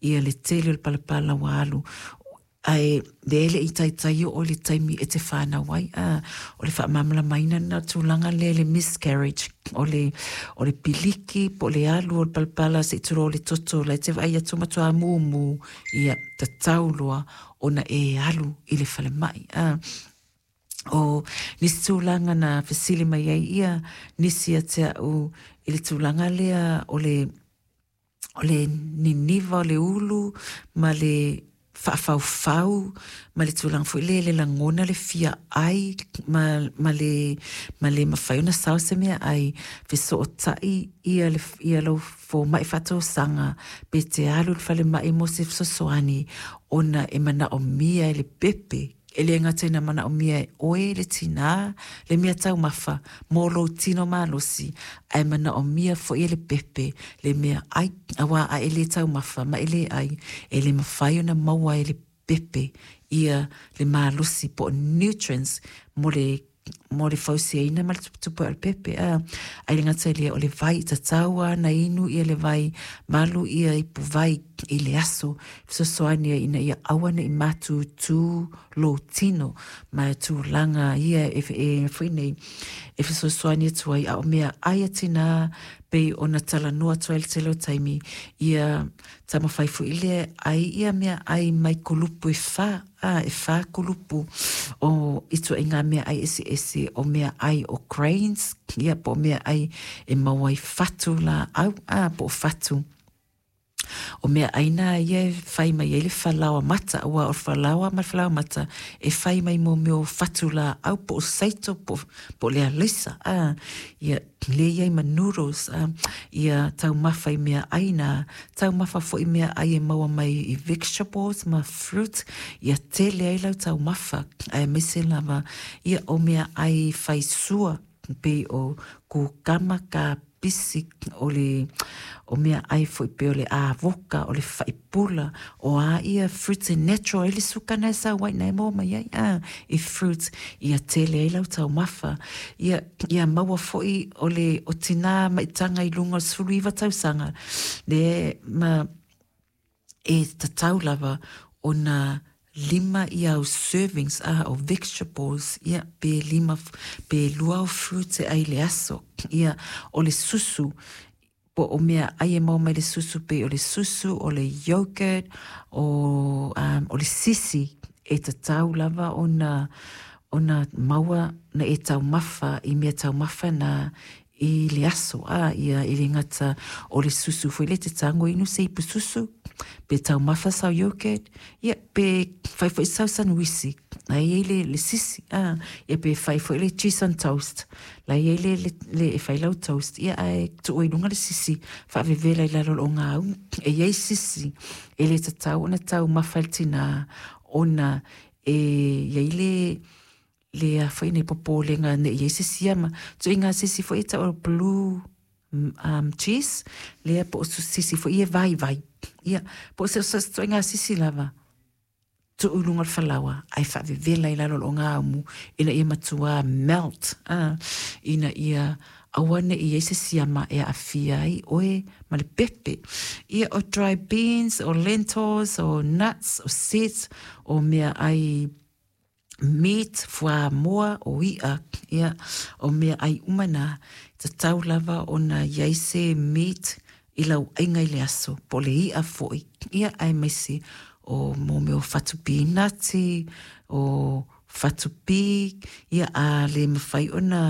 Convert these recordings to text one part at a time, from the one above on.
Ia le tele o le palapala ua alu ae lea e le i taitai oo i le taimi e te fanau ai. A, o le faamalamalamaina lena o le tulaga lea i le miscarriage, o le, o le piliki po o le alu o le palapala se i tulou le toto la e te vaai atu matua mumu, ia, tatau loa ona e alu i le falemai. A, o nisi tulaga na fesili mai ai ia nisi ia te au i le tulaga lea o le o le niniva o le ulu ma le faafaufau ma le tulaga foi lea le lagona le fia ai ma, ma le, ma le mafai ona sao se mea ai fesootai ia, le, ia lau fomai faatosaga pe te alu i le falemai mo se fesoasoani ona e manaomia e le pepe E le gata ina manaomia e oe le tinā le mea taumafa mō lou tino malosi, ae manaomia foi e le pepe le mea ʻai, auā a e lē taumafa ma e lē ʻai, e le mafai ona maua e le pepe ia le malosi po o nutrients mo le mo le fausiaina ma le tuputupu o le pepe. A, ai le gata i lea, o le vai, tatau lava ona inu ia le vai, malu ia ipu vai i le aso, fesoasoani ai ina ia aua ne i mātūtū lou tino ma tulaga ia e, e foi nei e fesoasoani atu ai a o mea ai a tinā pei ona talanoa atu ai le tele o taimi ia taumafai foi lea ai ia mea ai mai kulupu e whā a e whā kulupu o ituaiga mea ai eseese o mea ai o grains ia po o mea ai e maua ai fatu lāau a po o fatu O mea ʻai nā ia e fai mai ai le falaoa mata, aua o le falaoa ma le falaoa mata e fai mai mō mea o fatu lāau po o saito po, po o le alaisa, a, ia, lea i ai ma noodles, a, ia taumafa i mea ʻai nā, taumafa foi i mea ʻai e maua mai i vegetables ma fruit, ia tele ai lau taumafa, aemaise lava, ia, o mea ʻai fai sua, pei o kukama, kapisi, o le o mea ʻai foi pei o le avoka, o le faipula, o a ia fruits e natural ai le suka na e sau ai, na e maua mai ai a i fruits ia tele ai lau taumafa. Ia, ia maua foi o le o tinā maitaga i luga o le 19 tausaga, le ma e tatau lava ona lima ia au servings a o vegetables ia pe lima pe lua au fruits e ai le aso ia o le susu po o mea ai e maua mai le susu pei o le susu o le yogurt o um, o le sisi e tatau lava ona ona maua na e taumafa i mea taumafa na i le aso, ā, ia e le gata o le susu foi lea te tango inu se ipu susu, pe taumafa sau yogurt, ia, pe fai foi sau sanuisi, la e i ai le, le sisi, ā, ia pe fai foi le cheese on toast, la e i ai le, le, le e fai lau toast, ia ae tuu i luga le sisi, faavevela i lalo o le ogāumu, e i ai sisi e le tatau ona taumafa e le tinā, ona e i ai le, le a foi nei popolega ne i ai se siama. Tuiga sisi foi e tau o blue um, cheese, lea po o sisi foi e vaivai. Ia, po o se tuiga sisi lava, tuu i luga o le falaoa, ae faavevela i lalo o le ogāumu, ina ia matua melt, ah, ina ia aua ne i ai se siama e aafia ai oe ma le pepe. Ia, o dry beans, o lentils, o nuts, o seeds, o mea ai meat, fuamoa, o i'a, ia, o mea ʻai uma nā, tatau lava ona i ai se meat i lau ʻaiga i le aso, po o le i'a foi, ia, aemaise o mō mea o fatu pīnati, o fatu pī, ia, a le mawhai ona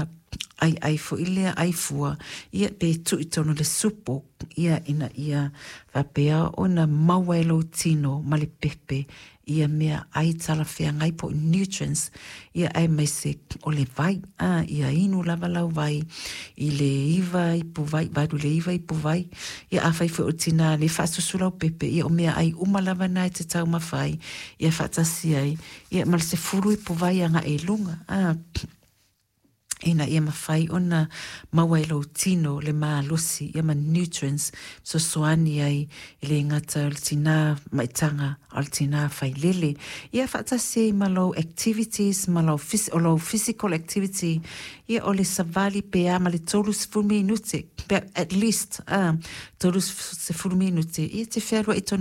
ʻaiʻai foi lea ʻai fua, ia, pe tuu i totonu o le supo, ia, ina ia faapea ona maua e lou tino ma le pepe ia mea ʻai talafeagai po o nutrients, ia aemaise o le vai, a, ia inu lava lau vai i le iva ipu vai, valu le iva ipu vai, ia afai foi o tinā le faasusu lau pepe, ia o mea ʻai uma lava na e te taumafa ai, ia faatasi ai, ia ma le 10 ipu vai agaʻi i luga, a. Ina ia mafai ona maua e lou tino le malosi ia ma nutrients fesoasoani ai e le gata o le tinā maitaga a o le tinā failele. Ia faatasi ai ma lou activities ma lau o lou physical activity ia o le savali pe a ma le 30 minute pe at least a 30 minute ia te fealuai tonu.